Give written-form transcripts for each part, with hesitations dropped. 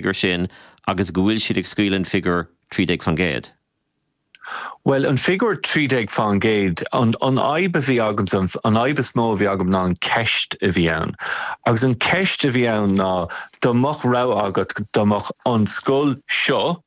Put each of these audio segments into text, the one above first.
figiúr sin agus go bhfuil siad ag scaoileadh an figiúr 13%? Bhuel, an figiúr 13%, an fhadhb a bhí agamsa, an fhadhb is mó a bhí agam ná an ceist a bhí ann. Agus an ceist a bhí ann ná dá mbeadh rogha agat, dá mbeadh an scoil seo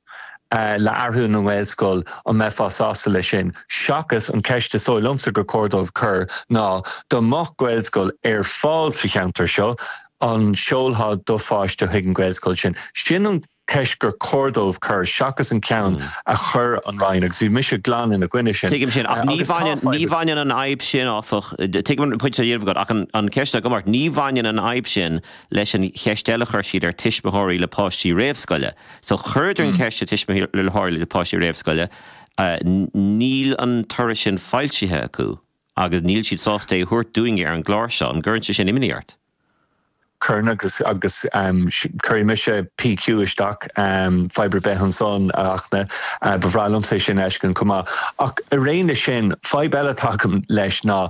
le athrú ina nGaelscoil, an mbeifeá sásta leis sin? Seachas an ceist is dóigh liomsa gur chóir dóibh cur ná dá mbeadh Gaelscoil ar fáil sa cheantar seo, an seolfá do pháiste chuig an Ghaelscoil sin? Sin an ceist gur chóir dóibh cur, seachas an ceann a chuir an Roinn, agus bhí mise glan ina gcoinne sin. Tuigim sin, ach ní bhaineann, ní bhaineann an fhadhb sin, áfach, tuigim an pointe á dhéanamh agat, ach an ceist agam ort, ní bhaineann an fhadhb sin leis an cheist eile a chuir siad ar tuismitheoirí le páistí réamhscoile. So chuireadar an ceist ar tuismitheoirí le páistí réamhscoile, níl an toradh sin foilsithe acu. Agus níl siad sásta é a thabhairt dúinne ar an gclár seo. An gcuireann sé sin imní ort? Cuireann agus agus cuirfidh mise PQ isteach, fadhb ar bith ansan, a Fhachtna. Ba bhreá liomsa é sin a fheiscint chomh maith. Ach ar aon leis sin, fadhb eile atá agam leis ná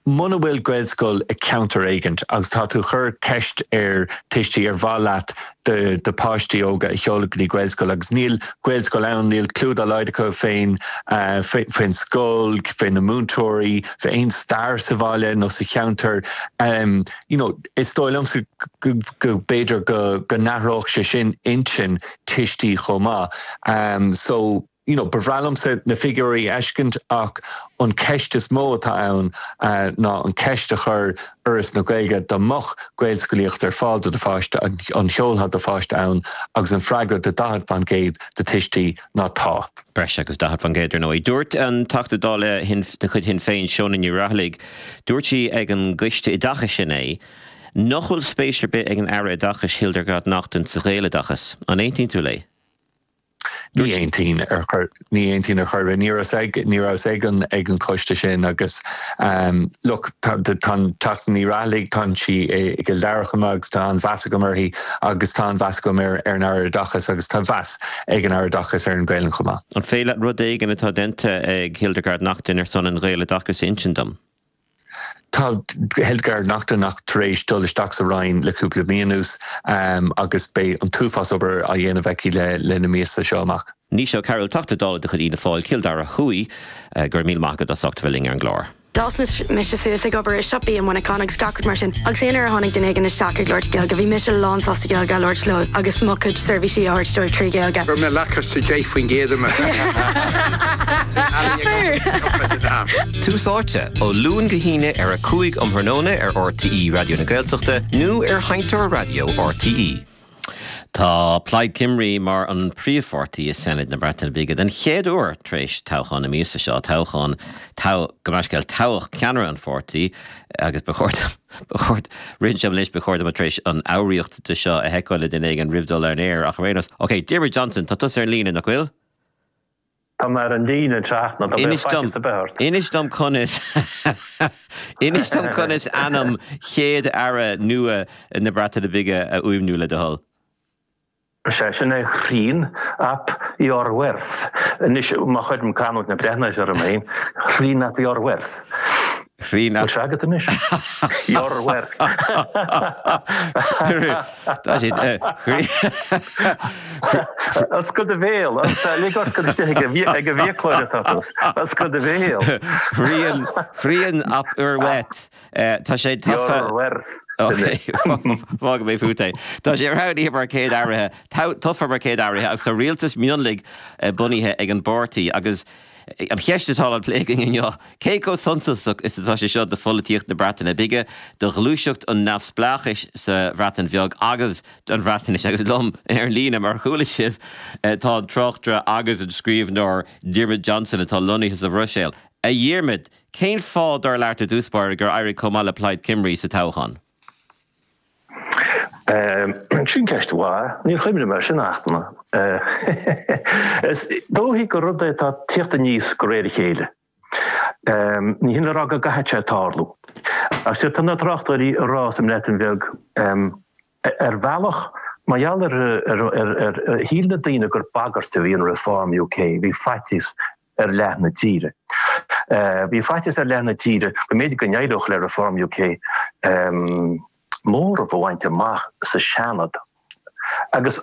muna bhfuil Gaelscoil i ceantar éigint agus tá tú ag cur ceist ar tuistí ar mhaith leat do do pháistí óga a sheoladh go dtí Gaelscoil agus níl Gaelscoil ann, níl cliú dá laghad acu fén faoin scoil, fé na múinteoirí, fé aon stair sa bhaile nó sa cheantar. You know, is dóigh liomsa go go b'fhéidir go go n-athródh sé sin intinn tuistí chomh maith. So. you know, ba bhreá liomsa na figiúirí a fheiscint ach an ceist is mó atá ann ná an ceist a chuir Fhoras na Gaeilge, dá mbeadh Gaelscolaíocht ar fáil do do pháiste, an seolfá do pháiste ann agus an freagra do 40% de tuistí ná tá. Breis agus 40% ar ndóigh. Dúirt an Teachta Dála de chuid Shinn Féin, Shónagh Ní Raghallaigh, dúirt sí ag an gCoiste Oideachais inné, nach bhfuil spéis ar bith ag an Aire Oideachais Hildegarde Naughton sa Ghaeloideachas. An aontaíonn tú léi? Ní aontaím ar chor, ní aontaím ar chor ar bith. Ní rabhas ag, ní rabhas ag an, ag an choiste sin agus look, tá, tá an Teachta Ní Raghallaigh, tá sí i gCill Dara chomh maith agus tá an-mheas agam uirthi agus tá an-mheas agam ar, ar an Aire Oideachais agus tá mheas ag an Aire Oideachais ar an Ghaelainn chomh maith. An féidir leat rud éigin atá déanta ag Hildegarde Naughton ar son an Ghaeloideachais a insint dom? Tá Hildegarde Naughton ach tar éis dul isteach sa Roinn le cúpla mí anuas agus beidh an t-uafás obair á dhéanamh aici le na míosa seo amach. Naoise Ó Cearúil, Teachta Dála de chuid Fhianna Fáil, Cill Dara Thuaidh, go raibh míle maith agat as ucht a bheith linn ar an gclár. D'fhás mise suas ag obair i siopaí i Muineachán agus gach rud mar sin agus aon uair a tháinig duine éigin isteach ag labhairt Gaeilge bhí mise lán sásta Gaeilge a labhairt leo agus mo chuid seirbhísí a thabhairt dóibh 3 Ghaeilge. Raibh mé lacáiste 10% i mo Tús Áite, ó Luan go hAoine ar 5 um thráthnóna ar RTÉ Raidió na Gaeltachta nó ar Sheinnteoir Raidió RTÉ. Tá Plaid Cymru mar an príomhpháirtí i Senedd na Breataine Bige den chéad uair tar éis toghchán na míosa seo, toghchán, gabh mo leithscéal, toghadh ceannaire an pháirtí agus ba chóir dom, ba chóir, ritheann sé liom anois, ba chóir dom tar éis an fhoghraíocht de seo a sheiceáil le duine éigin roimh dul ar an aer ach ar aon nós, ok, Diarmuid Johnson, tá tusa ar an líne, nach bhfuil? Tá mé ar an líne, a Fhachtna, dá mbeadh faitíos ar bith ort. Inis dom conas Inis dom conas ainm chéad aire nua na Breataine Bige a fhuaimniú, le do thoil. Sea, sin é Rhun ap Iorwerth. Anois, má chuirim canúint na Breatnaise orm féin, Rhun ap Iorwerth. Rhun ap. Bhfuil sé agat anois? Iorwerth. Tá sé. Oscail do bhéal. Lig ort gur istigh ag an bhfiaclóir atá tú. Oscail do bhéal. Rhun, Rhun ap Iorwerth. Tá sé tofa. Iorwerth. Fágfaidh mé fút é. Tá sé roghnaithe mar chéad aire, tofa mar chéad aire agus tá rialtas mionlaigh bunaithe ag an bpáirtí agus an cheist atá á plé againn inniu, cé chomh suntasach is atá sé seo do pholaitíocht na Breataine Bige, do ghluaiseacht an neamhspleáchais sa Bhreatain Bheag agus don Bhreatnais? Agus liom ar an líne, mar a chuala sibh, tá an tráchtaire agus an scríbhneoir Diarmuid Johnson atá lonnaithe sa Bhruiséil. A Dhiarmuid, cén fáth, dar leat, i dtús báire, gur éirigh chomh maith le Plaid Cymru sa toghchán? Sin ceist mhaith. Níor chuimhnigh mé air sin, a Fhachtna. Is dóichí gur rud é atá ag tíocht aníos de réir a chéile. Ní hin le rá go gcaithfidh sé tarlú. Ach sea, tá na tráchtairí ag rá sa mBreatain Bheag, ar bhealach, mar gheall ar ar shíl na daoine gur bagairt a bhí in Reform UK, bhí faitíos ar leath na tíre. Bhí faitíos ar leath na tíre go mb'fhéidir go n-éireodh le Reform UK móramh a bhaint amach sa Seanad. Agus.